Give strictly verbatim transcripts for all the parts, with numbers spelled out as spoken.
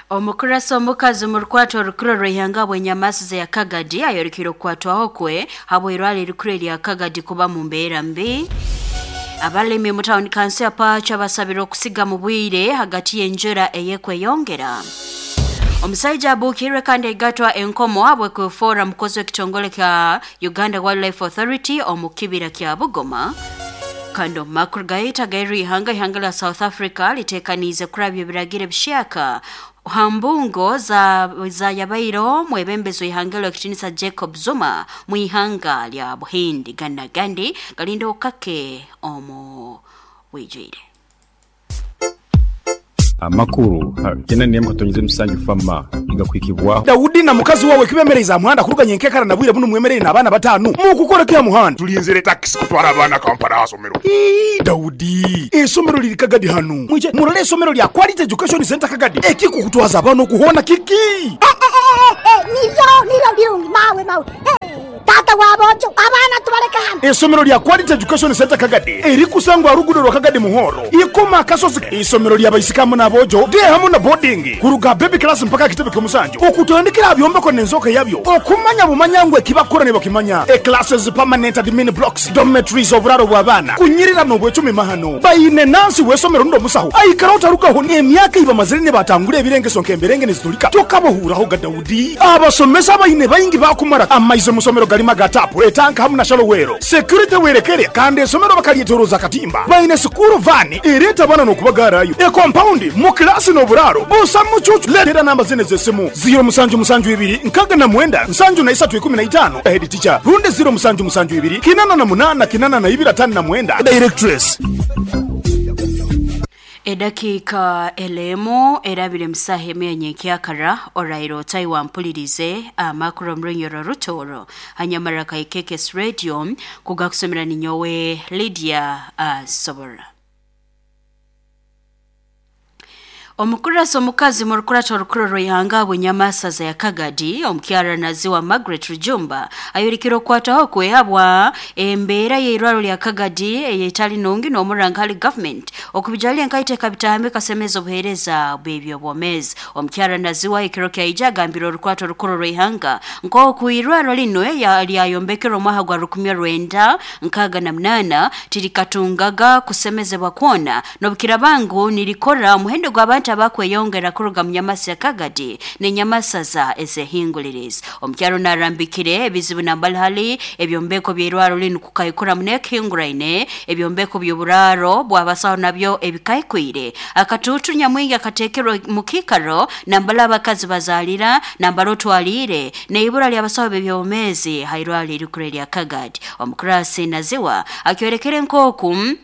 Omukurasi omukazi mu rukwato orukuru rw'ihanga bw'enyamasu ya Kagadi ayorekire okukwatwaho kwe habw'irwaro erikuru erya Kagadi kuba mu mbeera mbi. Abalimi mu tawuni kanso ya Pacho basabire okusiga mu bwire hagati y'enjura eyekweyongera. Omusaija abuukirwe kandi aigatwa enkomo habw'okwefoora mukozi w'ekitongole kya Uganda Wildlife Authority omu kibira kya Bugoma. Kandi omu makuru gaitu ag'erihanga, ihanga lya South Africa litekaniize kurabya ebiragiro ebishyaka ha mbungo za zayabaireho mwebembezi w'ihanga ly'ekitinisa Jacob Zuma mu ihanga lya Buhindi. Gana gandi galinda okake omu bwijwire. Amakuru kyenda n'emwe katonyize musanju fama igakwikibwaho. Daudi na mukazi wawe kibemereza muhanda kuruganya enkekara na bwire buno mwemerere n'abaana batanu mukukora kya muhanda. Tulinzire taxi kutwara abaana Kampala asomero. Ii, Daudi, esomero liri Kagadi hanu. Mwije murole esomero lya Quality Education Center Kagadi. Ekikukutwaza abaana okuhona kiki? Eh, eh, eh, eh, niryo niryo birungi mawe mawe. Eh, tata wabojo abaana tubaleka hano. Esomero lya Quality Education Center Kagadi erikusangwa rugudo rwa Kagadi Muhoro ikoma akasozi. Isomero lya baisikamu n'abojo de hamu na boarding kuruga baby class mpaka kitebe ky'omusanju okutandikira byombeko n'enzoka yabyo okumanya bumanya ngwe kibakora ne bakimanya. E classes, permanent admin blocks, dormitories, oburaro bw'abaana kunyirira n'obwecumi mahano bayine nansi w'esomero ndo musaho aikara otarugaho emyaka iba mazire ne batangura ebirengeso nk'emberenge nizitulika tokabohuraho ga Daudi. Abasomesa bayine bayingi bakumara amaize musomero galima gatapu etanka hamu na shalowero security werekere kandi esomero bakalyetoroza katimba bayine sukuru vani ereta bana n'okubagarayo e compound mu klasi n'oburaro busa mucucu. Letera namba zine z'esimu ziro musanju musanju ibiri nkaga na mwenda nsanju na isatu ikumi na itano head teacher runde ziro musanju musanju ibiri kinana na munana kinana na ibiri atano na mwenda directress. Edakika elemu erabire musaha emwe nkyakara orairo otaiwa mpulirize amakuru omurunyoro rutoro hanyamara kaikekes radio kugakusomera ninyowe Lydia uh, Sobora. Omukurasi omukazi mu rukurato orukuru rw'ihanga bw'enyamasaza ya Kagadi omukyara naziwa Margaret Rujumba ayorekire okukwataho kwehabwa embeera y'eirwaro lya Kagadi eyetali nungi n'omuranga hali government okubijalya enkaiteka bitahambe kasemeza obuheereza bw'ebyobwomeezi. Omukyara naziwa ekiro kyaija agambire orukwato orukuru rw'ihanga nk'oku irwaro lino lyayombekerwa omwaka gwa rukumi rwenda nkaaga na munaana tirikatungaga kusemezebwa kwona n'obukirabangu nirikora omuhendo gw'abantu abakweyongera kuruga mu nyamasa ya Kagadi n'enyamasaza ezehingulirizi. Omukyaro narambikire ebizibu nambalihali ebyombeko by'irwaro linu kukaikura munekihinguraine ebyombeko by'oburaro bw'abasaho nabyo ebikaikwire akatuutu nyamwingi akateekerwa mu kiikaro nambala abakazi bazaalira nambala otwaliire n'eibura ly'abasaho b'ebyobwomeezi hairwaro erikuru erya Kagadi. Omukurasi naziwa akyorekere nk'oku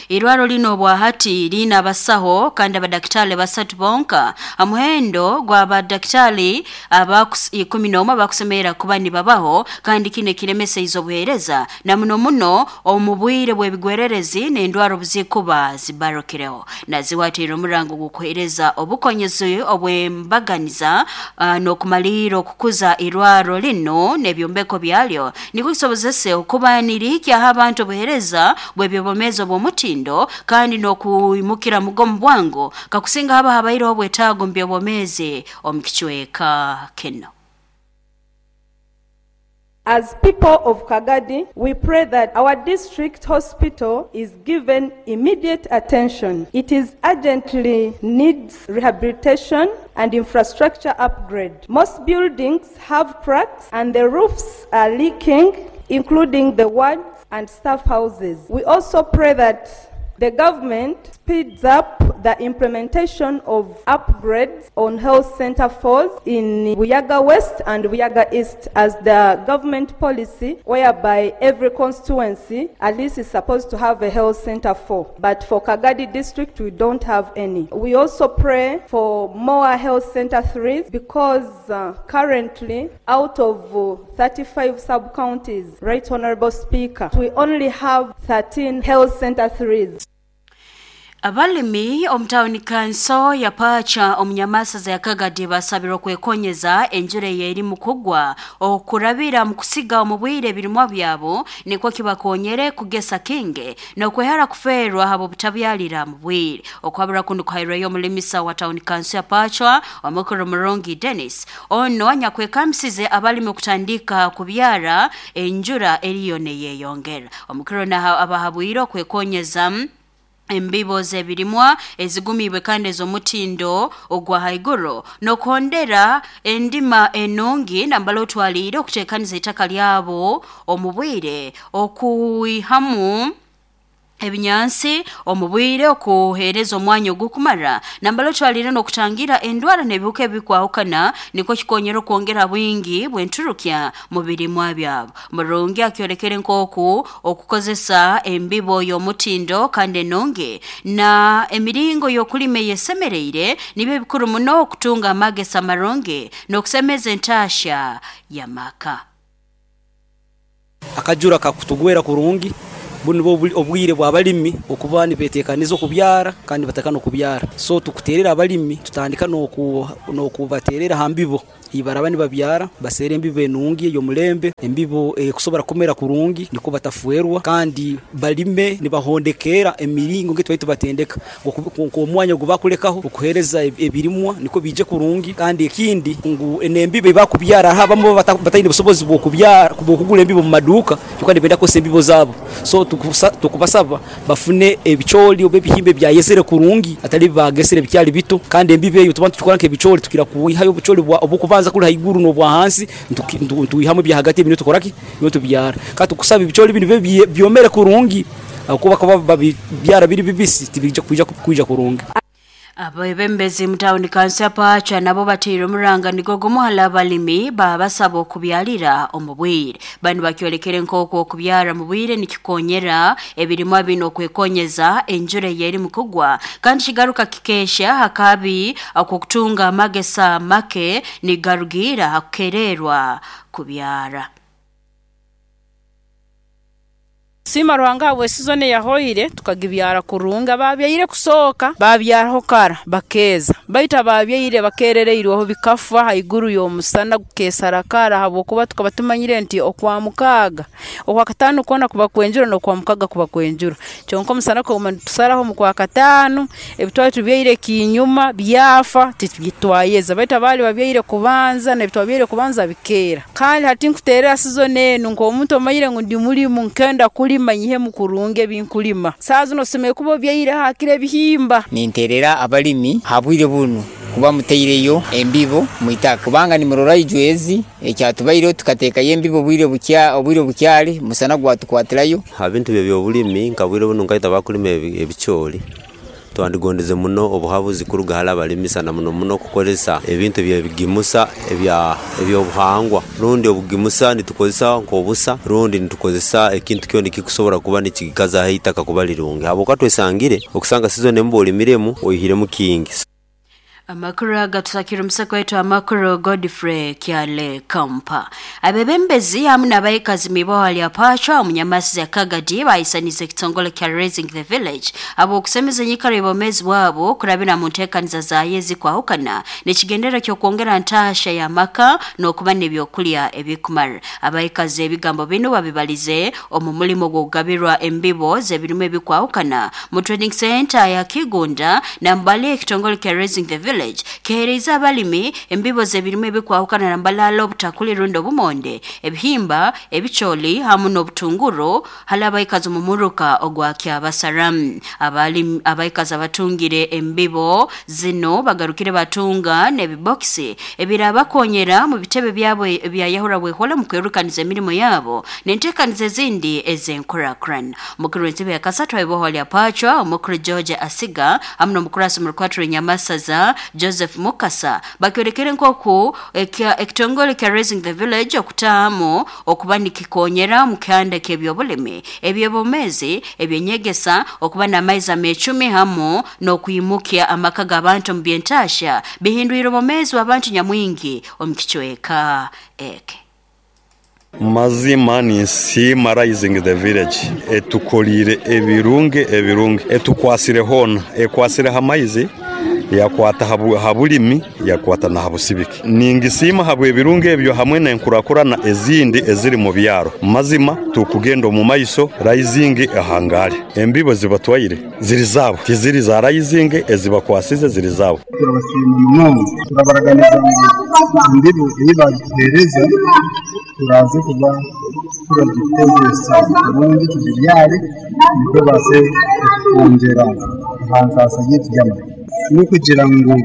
irwaro lino bwahati lina abasaho kandi abadakitale basatu bonka amuhendo gw'abadakitale abakus ikumi n'omwe abakusemera kuba nibabaho kandi kine kiremesa izo buhereza na muno muno omu bwire bw'ebigwererezi n'endwara obuzikuba zibarokireho. Naziwatira omurango gw'okuhereza obukonyezi obw'embaganiza uh, n'okumalira okukuza irwaro lino n'ebyombeko byalyo nikwo kisobozese okuba nirihikyaho abantu obuhereza bw'ebyobwomeezi obw'omuti tindo kandi n'okuimukira mugomu bwangu kakusinga haba habaireho obwetaago mu byobwomeezi omu kicweka kino. As people of Kagadi, we pray that our district hospital is given immediate attention. It is urgently needs rehabilitation and infrastructure upgrade. Most buildings have cracks and the roofs are leaking, including the wards and staff houses. We also pray that the government speeds up the implementation of upgrades on health center fours in Buyaga West and Buyaga East as the government policy whereby every constituency at least is supposed to have a health center four. But for Kagadi district, we don't have any. We also pray for more health center threes because uh, currently out of uh, thirty-five sub-counties, Right Honorable Speaker, we only have thirteen health center threes. Abalimi omu kanso ya Pacha omunyamasaza ya Kagadi basabirwa kwekonyeza enjura eri mukugwa okurabira mu kusiga omu bwire ebirimwa byabo nikwo kibakonyere kugesa kinge nokwehara kuferwa habo butabyalira mu bwire. Okwabura kundu kuhairweyo omulimisa wa town kanso ya Pacha omukuru Murongi Dennis ono anyakwekamsize abalimi okutandika kubyara enjura eriyo neyeyongera. Omukuru na abahabwire okwekonyeza embibo zebirimwa ezigumibwe kandi ez'omutindo ogwa haiguru nokondera endima enungi nambala otwalire okutekaniza itaka lyabo omu bwire okuihamu ebinyansi omubwire okuhereza omwanya ogukumara nambala otwalire n'okutangira endwara n'ebihuka ebikwahukana nikwo kikonyera okwongera bwingi bw'enturukya mu birimwa byabo. Murungi akyorekere nk'oku okukozesa embibo y'omutindo kandi enungi na emiringo y'okulima eyesemereire nibyo bikuru muno okutunga amagesa marungi n'okusemeza entasha y'amaka. Akajura kakutugwera kurungi bunu obwire bw'abalimi okuba nibetekaniza okubyara kandi batakana okubyara, so tukuterera abalimi tutandika n'okubaterera ha mbibo ibaraba nibabyara basere embibo enungi ey'omulembe, embibo ekusobora kumera kurungi niko batafuerwa, kandi balime nibahondekera emiringo nge twaitu batendeka nk'omwanya gubakulekaho okuhereza ebirimwa niko bije kurungi. Kandi ekindi ngu enembibo ibakubyara habamu bataine busobozi bw'okubyara kubokugula embibo mu maduka kyokka nibenda kose embibo zabo, so tukubasaba bafune ebicholi oba ebihimbe byayesere kurungi atali bagesere bikyali bito. Kandi embibo eyo tuba tukora nk'ebicholi tukira kuihayo obucholi obukubanza kuli haiguru n'obwa hansi ntuihamu bya hagati ebintu tukoraki nyo tubyara. Kandi tukusaba ebicholi bino byomere kurungi akuba kuba babyara biri bibisi tibija kuija kuija kurungi. Abebembezi mutawuni kanso ya Pacha nabo bateire omuranga nigo gumuhala abalimi babasaba okubyalira omu bwire. Bano bakyolekere nk'oku okubyara mu bwire nikikonyera ebirimwa bino okwekonyeza enjura eyeri mukugwa kandi kigaruka kikesha hakabi akokutunga amagesa make nigarugira hakukererwa kubyara. Sima Ruhanga we season yahoire tukagibyara kurunga babyaire kusoka babyaraho kara bakeza baita babyaire bakerereirweho bikafa haiguru y'omusana gukesara kara habwokuba tukaba tumanyire nti okwa mukaga okwa katano kona kuba kwenjura n'okwa mukaga kuba kwenjura kyonka omusana ko tusaraho mu kwa katano ebitwali tubyaire kinyuma byafa titwayeza baita bali babyaire kubanza n'ebitwabyaire kubanza bikera. Kandi hati nkuterera season enu nk'omuntu omanyire ngu ndi mulimu nkenda kulima nyihe mukurunge binkulima saa zino sime kubo byaire hakire bihimba. Ninterera abalimi habwire bunu kuba muteireyo embibo mwitaka kubanga nimurora ijwezi ekyatubaire tukateekayo embibo bwire bukya obwire bukyali musana gwatukwatirayo ha bintu by'obulimi nka bwire bunu nkaita bakulima ebicholi twandigondeze muno obuhabuzi kuruga hala abalimi sana muno muno kukozesa ebintu byebigimusa ebya ebyobuhangwa rundi obugimusa nitukozesa nk'obusa rundi nitukozesa ekintu kyona kikusobora kuba nikikaza itaka kuba lirungi habwokuba twesangire okusanga season embu olimiremu oihiremu kingi. Amakuru agatusakira omusako wetu amakuru Godfrey Kyale Kampa. Abebembezi hamwe n'abayikazi miboha lya Pacha omunyamasi ya Kagadi bayisanize ekitongole kya Raising the Village abo okusemeza enyikara y'obwomeezi bwabo kurabira mu nteekaniza za yezi kwahukana nekigendera ky'okwongera ntasha y'amaka n'okuba n'ebyokulya ebikumara. Abayikazi ebigambo bino babibalize omu mulimo gw'okugabirwa embibo z'ebirimu ebikwahukana mu training center ya Kigunda nambali ekitongole kya Raising the Village kehereza abalimi embibo z'ebirimu ebikwahukana nambalala obutakuli rundo obumonde ebihimba ebicholi hamu n'obutunguru hala abayikazi mu muruka ogwa Kyabasaramu. Abalimi abayikazi abatungire embibo zino bagarukire batunga n'ebibokisi ebirabakonyera mu bitebe byabo ebya Yahura bwehola mu kwerukaniza emirimo yabo n'enteekaniza ezindi ez'enkurakran. Mukuru w'entebe ya kasatu abiboho lya Pacha omukuru George Asiga hamu n'omukurasi mu rukwatiro Nyamasaza Joseph Mukasa bakyorekere nkoku ekitongole kya Raising the Village okutamu okuba nikikonyera mu kyanda ky'ebyobulimi ebyobomezi ebyenyegesa okuba n'amaizi amecumi hamu n'okuyimukya amaka g'abantu mu byentasha bihindwire obomezi w'abantu nyamwingi omu kichweka eke. Mazima ninsiima Raising the Village etukolire ebirungi ebirungi, etukwasire hoona, ekwasire ha maizi, yakwata ha bulimi, yakwata na ha busibiki. Ningisiima habwe ebirungi ebyo hamwe n'enkurakurana ezindi eziri mu byaro. Mazima tukugenda omu maiso, Rising ahangare. Embibo zibatwaire ziri zabo, tiziri za Rising, ezibakwasize ziri zabo. Turabasiima munonga, turabaraganiza ngu embibo ei bagituheereza turaze kuba turagikozesa kurungi, tugibyare nikwo baase kwongyera aha ntaasa yaitu y'amata. N'okugira ngu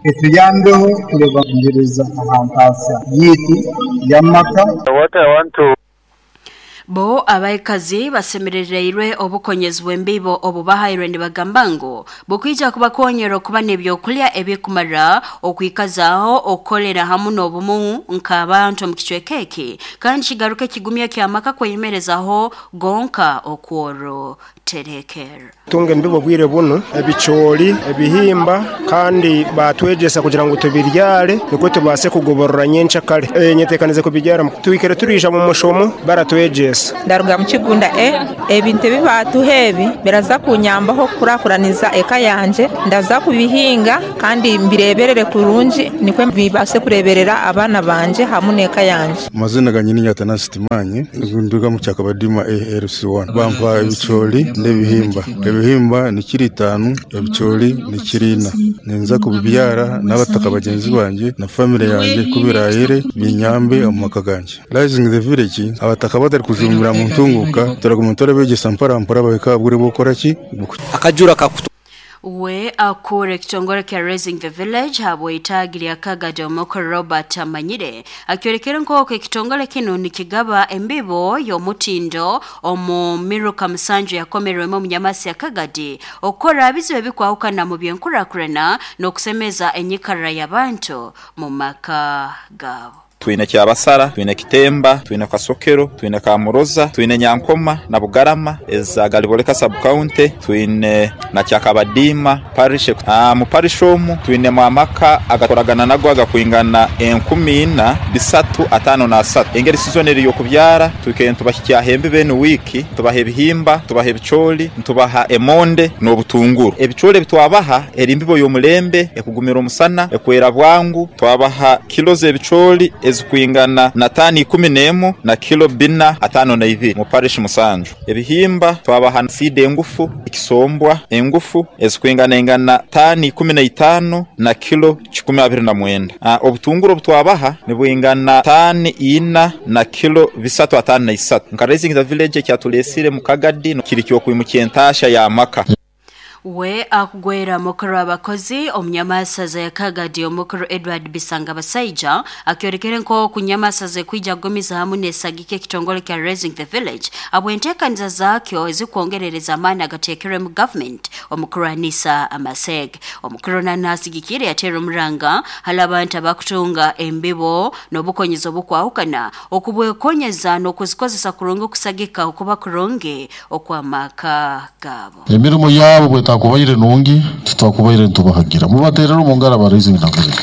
etuyambeho kurebangereza aha ntaasa yaitu y'amata. Bo abaikazi basemerereirwe obukonyezi bw'embibo obubahairwe nibagamba ngu bukwija kubakonyera okuba n'ebyokulya ebikumara, okwikazaho okukolera hamu n'obumu nk'abantu omu kicweka eki, kandi kigaruka ekigumya ky'amaka kweyemerezaho gonka okworo terekera. Tunga embibo bwire buno, ebicoori, ebihimba, kandi batwegesa kugira ngu tubiryare nikwo tubase kugoborora nyencha kare. E, nyetekanize kubiryara tuikere turija mu mushomo baratwegesa. Ndaruga mu kigunda e ebintu ebibatuha ebi biraza kunyambaho kurakuraniza eka yanje, ndaza kubihinga kandi mbireberere kurungi nikwe bibase kureberera abana banje hamwe n'eka yanje. Amazina ganye ni Nyatanasi Timanyi, nduga mu Kyakabadima A L C one. Bampa ebicoori n'ebihimba. Ebihimba ni kiro itaano, ebicoori ni kiro ina. Ninza kubibyara n'abataka bagenzi banje na family yanje kubirayire binyambe omu maka ganje. Rising the Village abataka batari kujumbira mu ntunguka turaguma turabegesa mpora mpora bahika buri bukora ki akajura kakutu. We akure ekitongole kya Raising the Village habwe itagi Kagadi omukuru Robert Amanyire akyorekera nk'oku ekitongole kino nikigaba embibo y'omutindo omu miruka musanju yakomerwemu omunyamasi ya Kagadi okukora bizibu ebikwahukana mu byenkurakurana n'okusemeza enyikara y'abantu mu maka gaabo. Twine Kyabasara, twine Kitemba, twine Kasokero, twine Kamuroza, twine Nyankoma na Bugarama eza Galiboleka sub county, twine na Kyakabadima parish. Ah, mu parish omu twine mwamaka agakoragana nago agakwingana enkumi ina bisatu atano na asatu. Engeri season eri yokubyara tukeye tubahikya hembe bene wiki, tubaha ebihimba, tubaha ebicoori, tubaha emonde n'obutunguru. Ebicoori bitwabaha eri mbibo y'omulembe ekugumira omusana, ekwera bwangu, twabaha kilo z'ebicoori ezikwingana na tani ikumi n'emu na kilo bina atano na ibiri mu parish musanju. Ebihimba twabaha seed engufu ekisombwa engufu ezikwingana engana tani ikumi na itano na kilo kikumi abiri na mwenda. Uh, obutunguru obutwabaha nibwingana tani ina na kilo bisatu atano na isatu. Nka Raising the Village kyatulesire mu Kagadi kiri kyo kwimukiye entasha ya maka. We akugwera mukuru abakozi omunyamasaza ya Kagadi omukuru Edward Bisanga Basaija akyorekere nko kunyamasaza kwija gomiza hamwe nesagike ekitongole kya Raising the Village abwentekaniza zakyo ezikwongerereza amani agatekerwe mu government omukuru Anisa Amaseg. Omukuru nanasigikire yatera omuranga hali abantu abakutunga embibo n'obukonyezo bukwahukana okubwekonyeza n'okuzikozesa kurungi okusagika okuba kurungi okwamaka gabo. Emirimo yabo bwetakubaire nungi tutakubaire ntubahagira mubaterera omungara ba Raising the Village.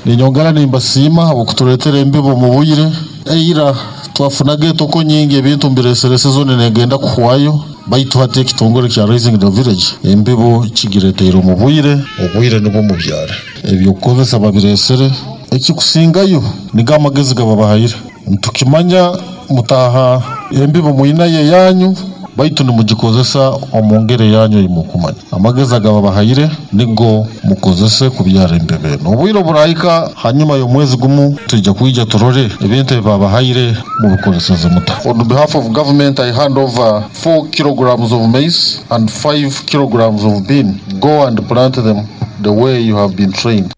Ninyongera nimbasiima okuturetera embibo mu buyire eira twafunaga etoko nyingi ebintu mbireserese zone negenda kuhwayo baitu hati ekitongole kya Raising the Village embibo kigireteire mu buyire obuyire nibwo mubyara ebyokukozesa babiresere ekikusingayo niga amagezi gababahayire ntukimanya mutaha embibo muyina ye yanyu baitu nimugikozesa omungere yanyu imukumanya amagezi agababahayire nigo mukozese kubyara embebe n'obwiro burayika hanyuma y'omwezi gumu tujja kwija turore ebintu ebabahayire mubikozeseze muta. On behalf of government I hand over four kilograms of maize and five kilograms of bean. Go and plant them the way you have been trained.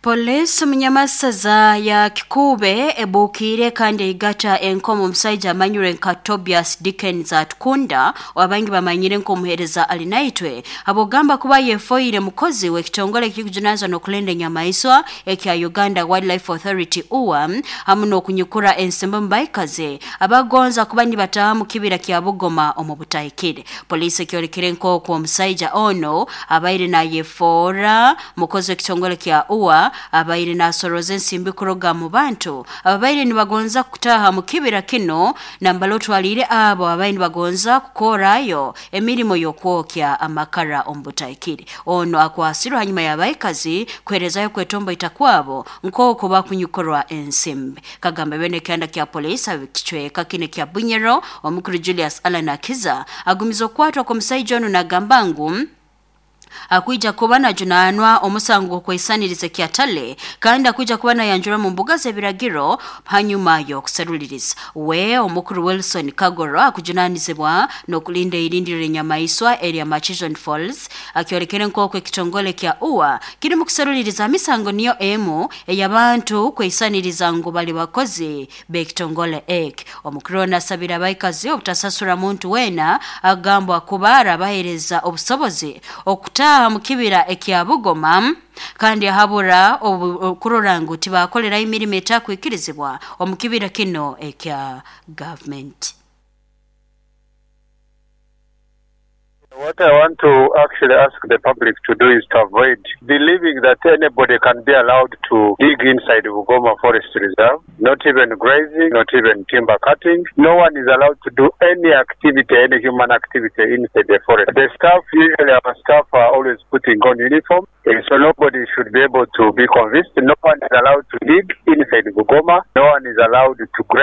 Polisi munyamasaza ya Kikube ebukire kandi igata enkomo omusaija amanyire nka Tobias Dickens Atukunda wabangi bamanyire nkomuhereza alinaitwe abogamba kuba yefoire mukozi w'ekitongole kikujunaanizwa n'okulenda enyamaiswa ekya Uganda Wildlife Authority U W A hamu n'okunyukura ensimbi mubaikaze abagonza kuba nibataha mu kibira kya Bugoma omu butahikire. Polisi ekyorekire nk'oku omusaija ono abaire nayefora mukozi w'ekitongole kya U W A kuba abaire nasoroza ensimbi kuroga mu bantu ababaire nibagonza kutaha mu kibira kino nambala otwalire abo abaire nibagonza kukorayo emirimo y'okwokya amakara omu butaikiri. Ono akwasirwe hanyuma y'abaikazi kuherezayo kwetombo itakwabo nk'oku bakunyukorwa ensimbi. Kagamba bene kyanda kya polisi abikicweka kine kya Bunyero omukuru Julius Allan Akiza agumiza okwatwa kw'omusaija ono nagamba ngu akwija kuba najunanwa omusango gw'okweisaniriza kyatale kandi akwija kuba nayanjura mu mbuga z'ebiragiro hanyuma y'okuseruliriza. We omukuru Wilson Kagoro akujunanizibwa n'okulinda irindiro enyamaiswa erya Murchison Falls akyolekere nk'oku ekitongole kya U A kiri mu kuseruliriza misango niyo emu ey'abantu kweisaniriza ngu bali bakozi b'ekitongole eki. Omukuru ono asabira abaikazi obutasasura muntu weena agambwa kuba arabahereza obusobozi okutaha mu kibira ekya Bugoma kandi ahabura okurora ngu tibakolera emirimo etakwikirizibwa omu kibira kino ekya government. What I want to actually ask the public to do is to avoid believing that anybody can be allowed to dig inside Bugoma Forest Reserve, not even grazing, not even timber cutting. No one is allowed to do any activity, any human activity inside the forest. The staff, usually our staff are always putting on uniform, eh, so nobody should be able to be convinced. No one is allowed to dig inside Bugoma. No one is allowed to graze.